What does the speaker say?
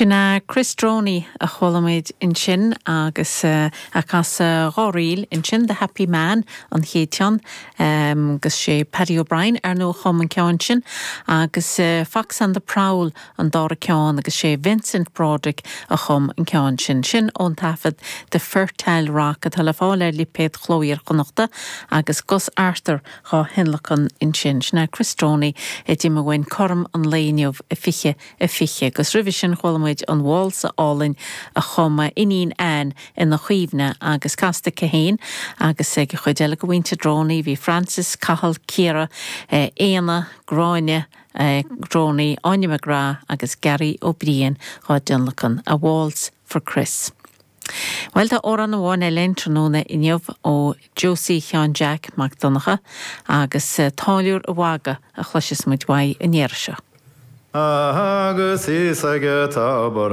Sin é Chris Droney a chuala muid ansin agus é ag casadh dha ríl ansin, The Happy Man an chéad cheann agus sé Paddy O'Brien ar ndóigh a chum an ceann sin agus Fox on the Prowl an dara ceann agus sé Vincent Broderick a chum an ceann sin. Sin ón taifead The Fertile Rock atá le fáil ar lipéad Chló Iar-Chonnachta agus Gus Arthur dhá thionlacan ansin. Sin é Chris Droney a d'imigh uainn cothrom an lae inniu, 20 20. Agus roimhe sin chuala muid an válsa álainn a chum a iníon Anne ina chuimhne agus casta aici féin agus ag an chuid eile de mhuintir Droney, bhí Francis, Cathal, Ciara, Éanna, Gráinne Droney, Áine McGrath agus Gary Ó Briain dhá dtionlacan, A Waltz for Chris. Bhuel, tá amhrán amháin eile againn tráthnóna inniu ó Josie Sheáin Jeaic Mac Donncha agus Táilliúir a' Mhagaidh a chloisfeas muid uaidh an iarraidh seo. Agus thíos ag an tobar.